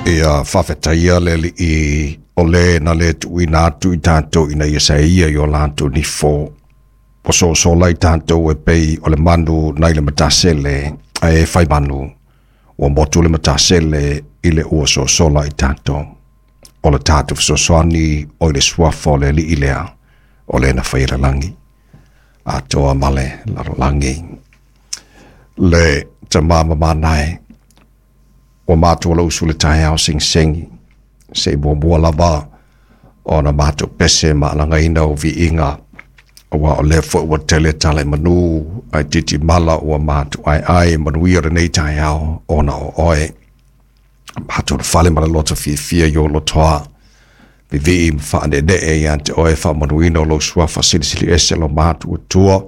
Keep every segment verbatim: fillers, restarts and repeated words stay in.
Ia faafetaia le Alii o le na le tuuina atu i tatou ina ia saia i o latou nifo. Ua sosola i tatou e pei o le manu nai le matasele ae e fai manu. Ua motu le matasele i le ua sosola i tatou. O le tatou fesoasoani o i le suafa o le Alii lea o le na faia le lagi. Atoa ma le lalolagi. Le tama mamanae ua matou lau usu le taeao segisegi se i muamua lava ona matou pese ma alagaina o viiga aua o lea foi ua tele tala i manu ae titimala ua matou aeae manuia lenei taeao ona o oe. Matou le fale ma le loto fiafia i ou lotoa. Vivii ma faaneenee ia te oe faamanuina o lou suafa silisili ese lo matou Atua.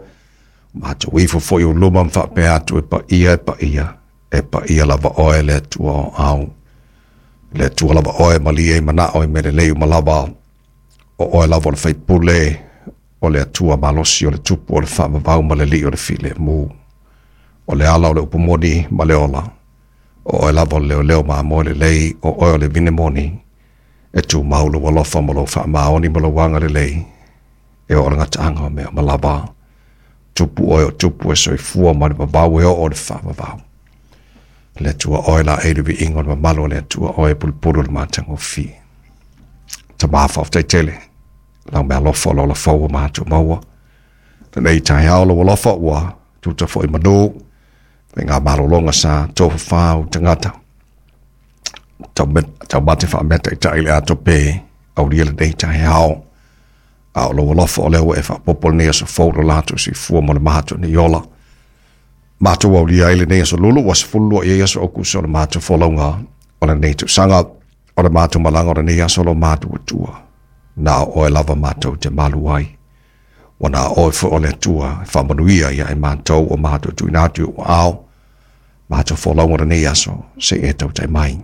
Matou ifo foi o luma ma faapea atu e paia e paia. E paia lava oe le Atua o au. Le Atua lava oe malie i manao i mea lelei uma lava. O oe lava o le faipule, o le Atua malosi o le tupu o le faavavau ma le alii o le filemu. O le ala o le upu moni ma le ola. O oe lava o le leoleo mamoe lelei, o oe o le vine moni. E tumau lou alofa ma lou faamaoni ma lou agalelei. E oo le gataaga o mea uma lava. Tupu oe o tupu e soifua ma le vavau e oo o le faavavau. Le Atua oe la e le viiga o le mamalu o le Atua oe pulupulu o le matagofie. Tama faafetai tele. Lau meaalofa o lau lafau ua matou maua. Lenei taeao lou alofa ua tuta foi manu. Faiga malologa sa tofafau tagata. Taumate faameataitai le ato pe aulia lenei taeao. A o lou alofa o lea ua e faapopo lenei aso fou lo latou soifua ma le matou nei ola. Matou aulia ai lenei aso lulu ua sefulu lua i ai aso Okuso o le matou folauga o lenei tausaga o le matou malaga o lenei aso lo matou Atua. Na o oe lava matou te malu ai. Ua na oe foi o le Atua e faamanuia ia e matou o matou tuuina atu i ou aao. Matou folauga o lenei aso se i e tautai mai.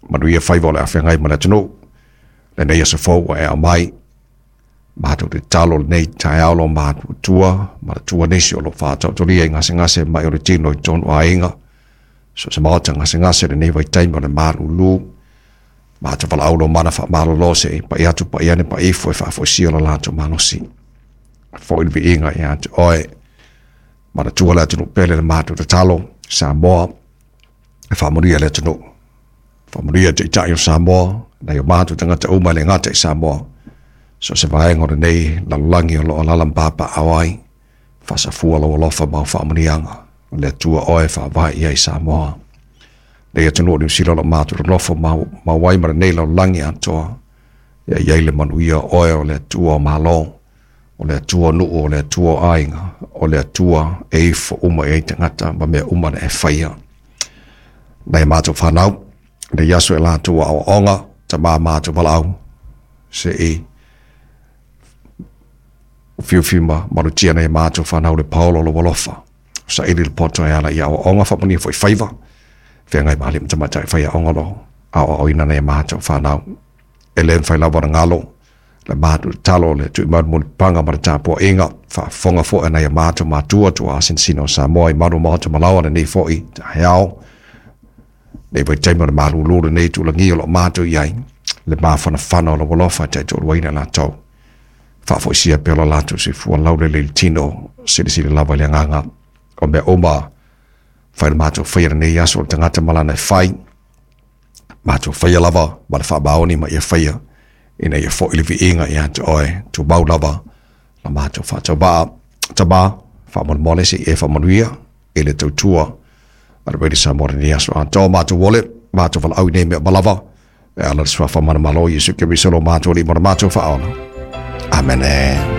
Manuia faiva o le afeagai ma le atunuu. Lenei aso fou ua e aumai. Matou te tatalo lenei taeao lo matou Atua ma le Atua nisi o lo o faataotolia i gasegase mai o le tino i totonu o aiga. So se maota gasegase lenei vaitaimi o le malulu. Matou valaau lo mana faamalolo se i pai atu pai ane pai ifo e faafoisia lo latou malosi. Foi le viiga ia te oe. Ma le Atua le atunuu pele le matou tatalo. Samoa e faamanuia le atunuu. Faamanuia taitai o Samoa, nai o matou tagata uma e le gata i Samoa. So se vaega o lenei lalolagi o loo alaala ma papaaao ai. Faasafua lou alofa ma au faamanuiaga. O le Atua oe e faavae i ai Samoa. Nei atunuu o Niu Sila o lo matou nonofo mau ai ma lenei lalolagi atoa. Ia i ai le manuia o oe o le Atua o Malo, o le Atua o nuu, o le Atua o aiga, o le Atua e ifo uma i ai tagata ma mea uma na e faia. Nai a matou fanau, nei aso e latou aoaoga, tama matou valaau, se i ufiufi ma malutia nai a matou fanau le paolo o lou alofa. Saili le poto e ala i aoaoga, faamanuia foi faiva, feagai ma alii ma tamaitai faiaoga o lo o aoaoina nai a matou fanau. E le mafai lava ona galo le matou tatalo le tuuina mulipapaga ma le tapuaiga faafofoga foi a nai a matou matua tuaasinasina o Samoa i malu maota malaoa lenei foi taeao. Nei vaitaimi o le malulu lenei tulagia o lo o matou i ai le mafanafana o lou alofa e taitoaluaina i latou. Faafoisia pea lo latou soifua laulele i le tino, silisili lava i le agaga o mea uma. Fai le matou faia lenei aso o le tagata ma lana e fai. Matou faia lava ma le faamaoni ma ia faia ina ia foi le viiga ia te oe. Tumau lava la matou faatauvaa. Tama, faamolemole se i e faamanuia i le tautua a le Radio Samoa lenei aso atoa. Matou ole, matou valaau i nei mea uma lava. E ala le suafa manumalo o Iesu Keriso lo matou Alii ma lo matou Faaola. Amene.